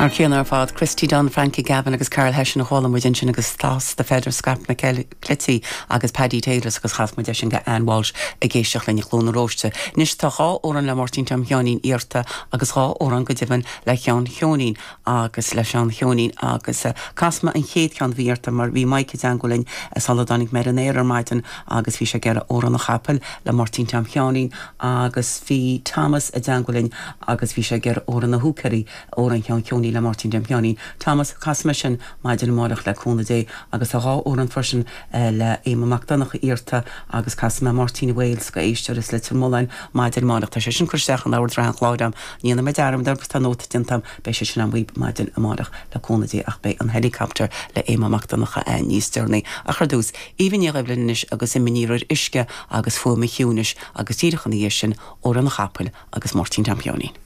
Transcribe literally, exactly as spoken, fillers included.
Ar chéanna ar fad Christy Dunn, Frankie Gavin agus Carl Hession a chuala muid ansin agus Toss the Feather Scaip na Cleití agus Paddy Taylors agus chas muid sin go Ann Walsh ag éisteacht linn i gCluain na Róiste. Anois tá dhá amhrán le Máirtín Tom Sheáinín iarrta agus dhá amhrán go deimhin le Seán Sheoinín agus le Seán Sheoinín agus uh, casfaidh mé an chéad cheann bhí iarrta mar bhí Mike i dteagmháil linn sula dtáinig mé ar an aer ar maidin agus bhí sé ag iarraidh Amhrán an Chapaill le Máirtín Tom Sheáinín agus bhí Thomas i dteagmháil linn agus bhí sé ag iarraidh Amhrán na Húicéirí amhrán Sheáin Sheoinín le Máirtín Tom Sheáinín. Thomas casfaidh mé sin maidin amárach le cúnamh Dé agus tá dhá amhrán freisin eh, le Éamonn Mac Donncha iarrta agus casfaidh mé Máirtín Wales go éisteoir as Leitir Mealláin maidin amárach tá sé sin curtha isteach in ord an chláir agam ní me dearmad agus tá nóta déanta beidh sé sin an web maidin amárach le cúnamh Dé ach beidh an helicopter le Éamonn Mac Donncha eh, níos deireanaí ach ar dtús Aoibhinn Ní Dhoibhlin anois agus imní ar uisce agus fuaim an chiúnais agus díreach ina dhiaidh sin Amhrán an Chapaill agus Máirtín Tom Sheáinín.